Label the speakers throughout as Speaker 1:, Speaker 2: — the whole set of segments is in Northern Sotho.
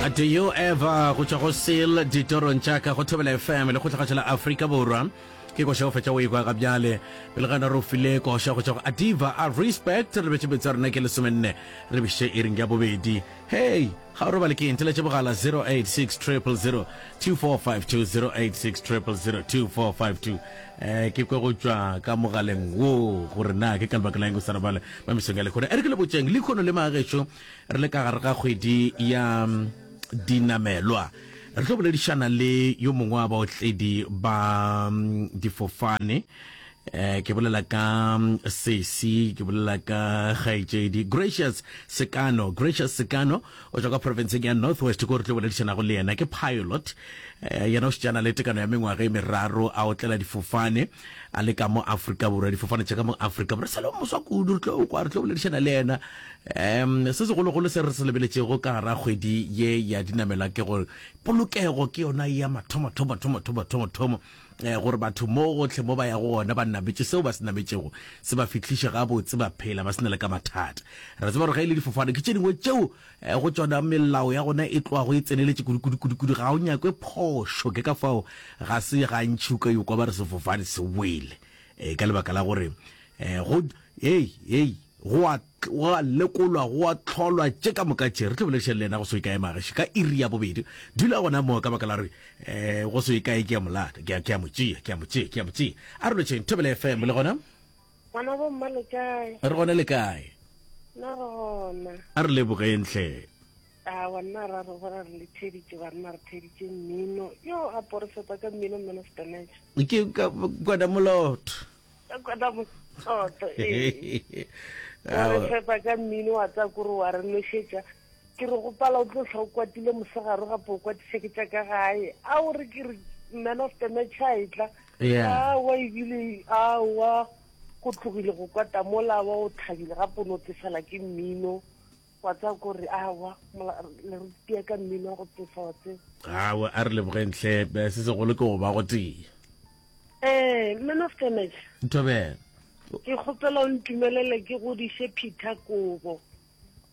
Speaker 1: Do you ever go tšwa go seal ditorong tša ka go Thobela FM le kgotlhagatšo la Afrika Borwa ke koša go fetša o ekwa ga bjale pele ga re o file koša go tšwa go Adiva a respect re betše betsa rena ke lesomenne re biše iring ya bobedi hey ga o robale ke eng theletše bogala 086 000 2452 086 000 2452 eh ke kwe go tšwa ka mogaleng wo gore na ke ka lebaka la eng o sa robale ba mesong ya lekgono e re ke le botšeng lekgono le magešo Re le ka gare ga kgwedi ya dinamelwa, re tlo boledišana le yo mongwe wa baotledi ba difofane. Eh, ke bolela ka sesi, ke bolela ka kgaetšedi Gracious Sekano. Gracious Sekano o tšwa ka profenseng ya North West, ko re tlo boledišanago le yena. Ke pilot, eh, yena o šetšana le tekano ya mengwaga e meraro a otlela difofane a le ka mo Afrika Borwa, difofane tša ka mo Afrika Borwa. Sa le moswa kudu, re tlo kwa, re tlo boledišana le yena. Um se segologolo se re se lebeletšego ka gara kgwedi ye ya dinamela ke gore polokego ke yona ya mathomo thomo thomo thomo thomo thomo um gore batho mo gotlhe mo ba yago gona ba nametše seo ba se nametšego se ba fihliše gabotse ba phela ba se na le ka mathata. Re tseba gore ge e le difofane ke tše dingwe tšeo um go tšona melao ya gona e tlogago e tseneletše kudu kudu kudu kudu ga o nyakwe phošo ke ka fao ga se gantši o ka yo kwa ba re sefofane se wele um ka lebaka la gore um go hei hei Go a, go a lekolwa, go a hlolwa, tše ka moka tše. Re tlo boledišana le yena go se ye kae, Mageše, ka iri ya bobedi. Dula gona moo, ka baka la gore, eh, go se ye kae ke a mo lata, ke a, ke a mo tšea, ke a mo tšea, ke a mo tšea. A re lotšheng, Thobela FM, le gona?
Speaker 2: Ngwana bo mma le kae?
Speaker 1: Re gona le kae?
Speaker 2: Nna re gona.
Speaker 1: A re lebogeng hle.
Speaker 2: Awa nna ra re gona re le theditše banna re theditše mmino. Yo a porofeta ka mmino man of the match.
Speaker 1: Ke ka kwana molotho.
Speaker 2: Ka kwana molotho ee. Re fepa ka mmino wa tsa kore wa re nošetša. Ke re gopala o tlo hlwa o kwatile mosegare gape o kwatiša ke tša ka gae. A o re ke re man of the match a etla.
Speaker 1: Yeah.
Speaker 2: Awa ebile awa go tlogile go kwata mola wa o thabile gape o no tsefela ke mmino. Wa tseba kore awa le re tia ka mmino wa go tsefa wa tseba.
Speaker 1: Awa a re lebogeng hle se segolo ke go ba go tee.
Speaker 2: Eh, man of the match.
Speaker 1: Thobela.
Speaker 2: Ke kgopela o ntumelele ke godiše Peter Kobo.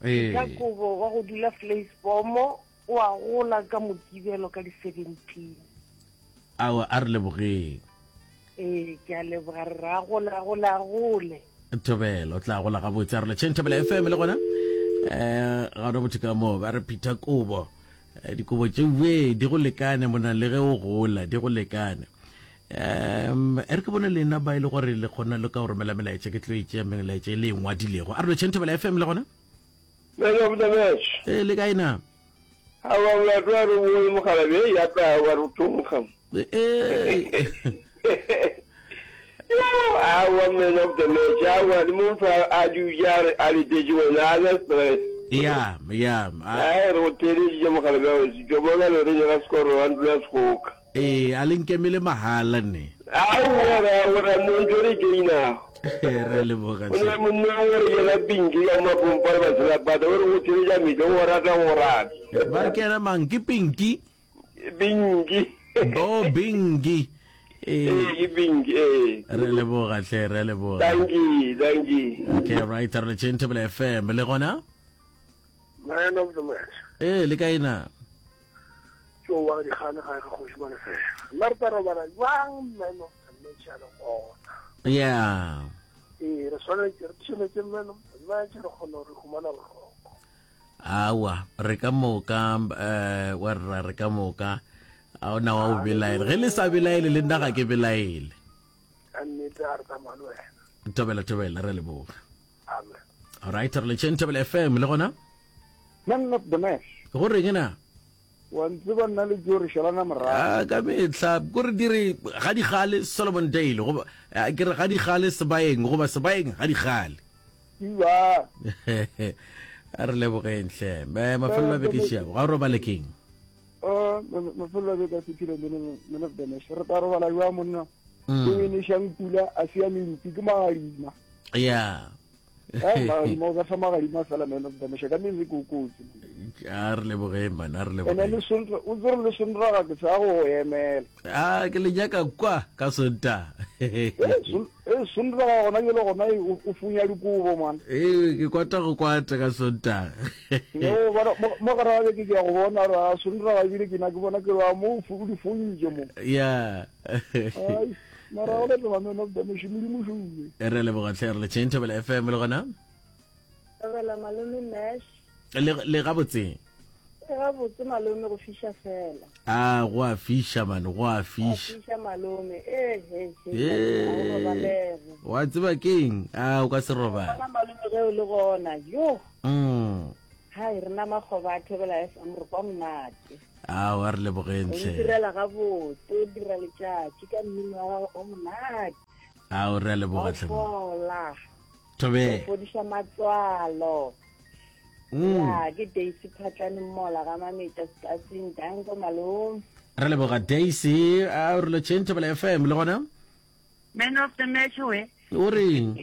Speaker 1: Ee.
Speaker 2: Peter Kobo wa go dula Vleisbomo o a gola ka Mokibelo ka di 17.
Speaker 1: Awa a re lebogeng.
Speaker 2: Ee, ke a leboga re ra gola gola gole.
Speaker 1: Thobela o tla gola gabotse a re letšheng Thobela FM le gona eh ga ona motho ka moo ba re Peter Kobo eh, dikobo tše we di go lekane mona le ge o gola di go lekane um e re ke bone lena ba e le gore le kgona le ka go romela melaetša ke tlo e tšea melaetša e le e ngwadilego a re letšheng Thobela FM le gona
Speaker 3: Man of the match.
Speaker 1: Ee le kae na
Speaker 3: Awa molato wa re bone mokgalabje ya tla wa re thonkga.
Speaker 1: Ee.
Speaker 3: Awa man of the match awa le motho a dutše a re a letetše wena a na stress.
Speaker 1: Ya ya.
Speaker 3: Ai re go theeleditše mokgalabje wa setšo bona le re nyaka sekoro wa ntlo ya sekgoka.
Speaker 1: Ee a le nkemele mahala ne.
Speaker 3: Aowa ra ora mo ntho re gainago.
Speaker 1: Re leboga
Speaker 3: O ne monna o re yena Pinky ka mapompa le baselapata o re go theletša metle go rata go rata.
Speaker 1: Ba re ke yena mang ke Pinky?
Speaker 3: Binki.
Speaker 1: Bo Binki.
Speaker 3: Ee ke Binki ee.
Speaker 1: Re leboga hle re leboga.
Speaker 3: Thank you thank you.
Speaker 1: Okay right re letšeng Thobela FM le gona?
Speaker 4: Man of the match.
Speaker 1: Ee le kae na?
Speaker 4: Ke wa dikgane ga ga kgoši Malefela. Nna re tla robala jwang man of the match a le gona.
Speaker 1: Yeah.
Speaker 4: Ee re swanetše re tšheletse man of the match re kgone gore humana boroko.
Speaker 1: Awa re ka moka eh wa rra re ka moka a ona wa o belaela ge le sa belaele le nna ga ke belaele.
Speaker 4: Ka nnete a re tsamaya le wena.
Speaker 1: Thobela thobela re leboga.
Speaker 4: Amen.
Speaker 1: All right re letšeng Thobela FM le gona?
Speaker 5: Man of the match.
Speaker 1: Go reng na?
Speaker 5: Wa ntseba nna le Joe re šalana morago.
Speaker 1: Ah, ka mehla ko re dire ga di gale Solomon Dale goba ah, ke re ga di gale Sebaeng goba Sebaeng ga di gale.
Speaker 5: Iwa.
Speaker 1: A re lebogeng hle. Me mafelelo a beke šiago. Ga o robale keng?
Speaker 5: Uh, mafelelo a beke a fetile man of the match. Re tla robala jwa monna. Mm. Ke nešang pula a se ya mentsi ke magadima.
Speaker 1: Yeah.
Speaker 5: Eh, magadima o ka fa magadima fela man of the match ka metse ko kotsi.
Speaker 1: A re lebogeng man, a re
Speaker 5: Ene
Speaker 1: lebogeng.
Speaker 5: le Sonta, o tsere le Sontaga ke sa go go emela.
Speaker 1: A ke le nyaka kwa ka Sontaga.
Speaker 5: Ee, Son- ee, Sontaga gona jale gona e, o o funya dikobo man.
Speaker 1: Ee, ke kwata go kwata ka Sontaga.
Speaker 5: No, bona, mo mo gare ga beke ke ya go bona gore a Sontaga ebile ke na ke bona ke re a mo o fu- o di funtše mo.
Speaker 1: Ya.
Speaker 5: Ai, mara o leboga man of the match, Modimo šuwe.
Speaker 1: Re leboga tlhe re le tšheng Thobela FM le gona.
Speaker 6: Thobela malome Mash.
Speaker 1: Le le gabotse.
Speaker 6: E gabotse malome go fiša fela.
Speaker 1: A go a fiša man, go a fiša.
Speaker 6: Fiša malome. Eh he he.
Speaker 1: Wa tseba keng? A o ka se robale.
Speaker 6: Bona malome ge o le gona. Yo.
Speaker 1: Mm.
Speaker 6: Hai rena makgoba a Thobela FM re kwa monate.
Speaker 1: A wa re lebogeng
Speaker 6: tlhe. O direla gabotse, o dira letšatši ka mmino wa gago o monate.
Speaker 1: A o re a leboga tlhe.
Speaker 6: Fola.
Speaker 1: Thobela.
Speaker 6: O fodiša matswalo. Mm. Ya, ke Daisy Phatlane Mola ga Mametša Stasing, danko malome.
Speaker 1: Re leboga Daisy, a re lo tšheng Thobela FM le gona?
Speaker 7: Man of the match we.
Speaker 1: O reng?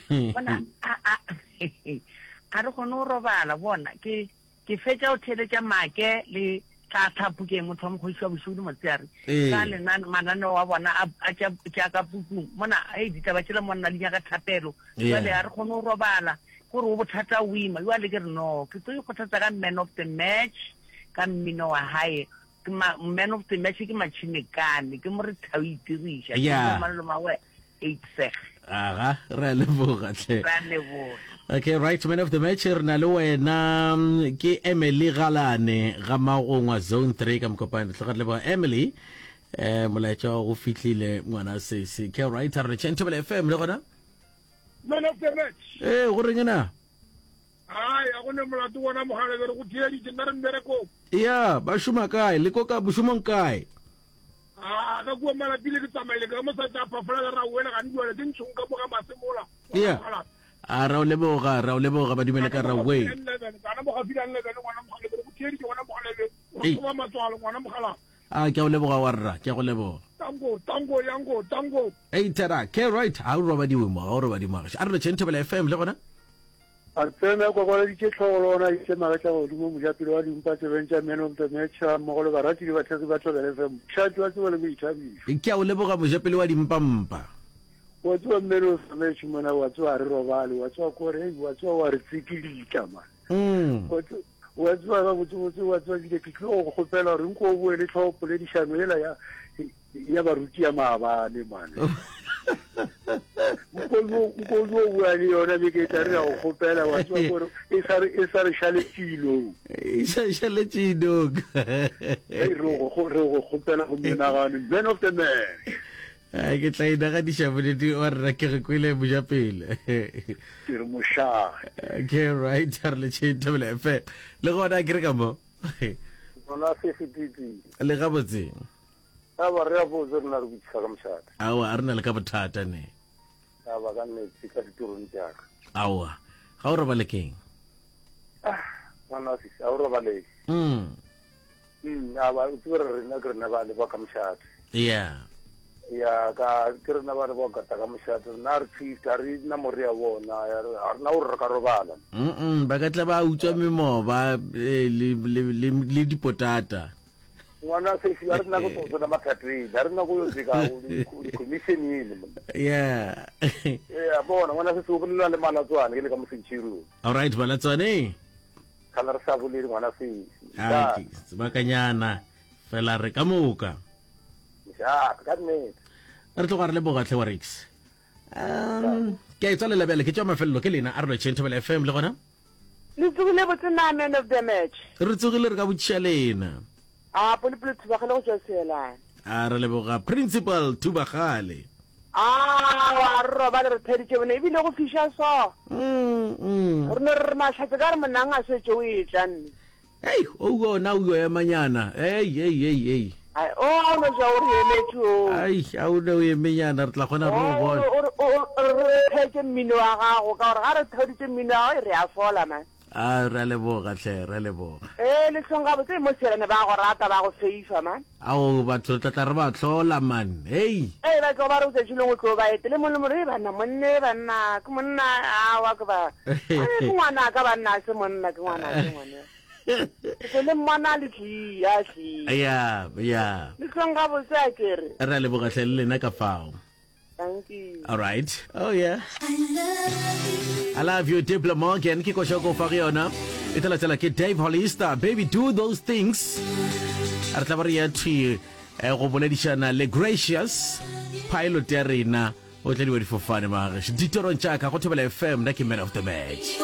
Speaker 7: Bona a a a re kgone go robala bona ke Ke fetša go theeletša Make le Tla Tlhapukeng, motho wa mokgoši wa bošego le motseare,
Speaker 1: Ee.
Speaker 7: ka lenan- mananeo a bona a, a tša, tša ka pukung. Mona, hei, ditaba tšela monna di nyaka thapelo.
Speaker 1: Yeah.
Speaker 7: Jwale ga re kgone go robala, gore o bothata o ima. Jwale ke re, no, ke tlo ikgothatsa ka man of the match, ka mmino wa hae. Ke ma, man of the match ke Matšhinekane, ke mo re thau itiriša. Ke
Speaker 1: Yeah.
Speaker 7: mo malome wa Eight-seg.
Speaker 1: Aga, re a leboga tlhe.
Speaker 7: Re a leboga.
Speaker 1: Okay, right, man of the match re na le wena mm, ke Emily Galane ga Magongwa Zone 3 ka Mokopane. Tloga re leboga Emily. Eh molaetša wa go fihlile ngwana sesi. Okay, right, re tšheng Thobela FM le gona.
Speaker 4: Man of the match.
Speaker 1: Eh, go reng na?
Speaker 4: Ai, a go ne molato wona mogala be re go theeditše nna re mmerekong.
Speaker 1: Ya, ba šoma kae? Le ko ka bošomong kae?
Speaker 4: A ka kua malapile ke tsamaile ka mosadi a phafola ka ra wela gane jwale ke ntšhong ka moga masemola.
Speaker 1: Ya. A ra o leboga, ra o leboga ba dumele ka ra we.
Speaker 4: Kana mo gafila le bele ngwana mogala be go theeditše ngwana mogala be. O thoba matswalo ngwana mogala.
Speaker 1: A ke a o leboga wa rra, ke a go leboga.
Speaker 4: Tango, tango, yango, tango.
Speaker 1: Ei tera, ke right, ha o robadiwe mo, ha o robadiwe mo. A re le tšheng Thobela FM le gona.
Speaker 5: A tsena a kwakwaladitše hlogo le gona a iše magetla godimo, mojapele wa dimpa tsebeng tša Man of the Match gammogo le barati le bathekgi ba Thobela FM, mošate wa tsebo le boithabišo.
Speaker 1: Ke a o leboga mojapele wa dimpampa.
Speaker 5: Wa tseba Man of the Match mona, wa tseba ga re robale, wa tseba kore, hei, wa tseba wa re tsikilitla man. Wa tseba gabotsebotse, wa tseba ebile ke tlile go go kgopela gore nko o boe le hlogo poledišano yela ya ya baruti ya maabane mane nko o bua le yona beke e tla re ya go kgopela wa tseba gore e sa re e sa re šaletšilong
Speaker 1: e sa šaletšilong
Speaker 5: re go re go kgopela go menagane man of the man
Speaker 1: Ai, ke tla inaganiša boledi wa rra ke re kwele mojapele
Speaker 5: ke re mošaa
Speaker 1: okay right re le tšheng thobela fm le gona ke re ka mo
Speaker 5: Bona se se titi.
Speaker 1: Le gabotse.
Speaker 5: A ba re a botse rena re botšiša ka mošate.
Speaker 1: Aowa, a re na le ka bothata ne.
Speaker 5: A ba ka nnete ka ditorong tša ka.
Speaker 1: Aowa, ga o robale keng?
Speaker 5: Ah, ngwana wa sisi, a o robalege.
Speaker 1: Mm.
Speaker 5: Mm, a ba o tsebe re rena ke rena ba le ba ka mošate.
Speaker 1: Yeah.
Speaker 5: Ya ka ke rena ba re ba gata ka mošate rena re tshita re na more ya bona ya re ga rena gore re ka robala.
Speaker 1: Mm ba ka tla ba utswa memoba eh, le le le le dipotata.
Speaker 5: Ngwana sesi a re na go tlo tsena mathateng a re na go yo tseka di-commission ene monna.
Speaker 1: Yeah.
Speaker 5: Ee a bona ngwana sesi o bolela le Malatswane ke le ka Mosenchirong.
Speaker 1: All right Malatswane.
Speaker 5: Kana re sa bolele ngwana sesi.
Speaker 1: Ah, ke sebakanyana fela re ka moka.
Speaker 5: Mošate, ka nnete.
Speaker 1: Re tloga re leboga tlhe wa Rex. Um, ke a e tswalela bjale ke tšwa mafelelo ke lena a re lotšheng Thobela FM le gona.
Speaker 2: Le tsogile botse na man of the match?
Speaker 1: Re tsogile re ka botšiša lena.
Speaker 2: A polopolo Thubagale go tšwa Seelane.
Speaker 1: A re leboga Principal Thubagale.
Speaker 2: A wa re robale re theditše bone ebile go fiša so.
Speaker 1: Mm, mm.
Speaker 2: Re no re re mahlatse ka re monang a šetše o etla nne.
Speaker 1: Hei, o ona o yo emanyana. Hei, hei, hei, hei.
Speaker 2: Ai, o a o no ja o re emetše o.
Speaker 1: Ai, a o ne o emenyana re tla kgona re o bona.
Speaker 2: O re theetše mmino wa gago ka gore ga re theoditše mmino wa gago re a fola man.
Speaker 1: A re a leboga hle, re a leboga.
Speaker 2: Ee, le hlong gabotse mo Seelane ba go rata ba go feifa man.
Speaker 1: Ao, batho re tla tla re ba hlola man. Hei.
Speaker 2: Ee, ba tlo ba re o tšatši lengwe o tlo ba etele mong le mong, ee banna monne banna ke monna awa ke ba. Ke ngwana ka banna a se monna ke ngwana ke ngwana.
Speaker 8: Ke tlo le mmona le tlie, a tlie.
Speaker 1: Ya, ya.
Speaker 8: Le tlong gabotse a kere.
Speaker 1: Re a leboga hle le lena ka fao.
Speaker 8: Thank you.
Speaker 1: All right. Oh yeah. I love you Diplo Morgan ke koša ko fa go yona. E tla latela ke Dave Hollister. Baby do those things. Re tla ba re ya thwi eh, go boledišana le Gracious pilot ya rena o tladiwa difofane magešo ditorong tša ka go Thobela FM nna ke man of the match.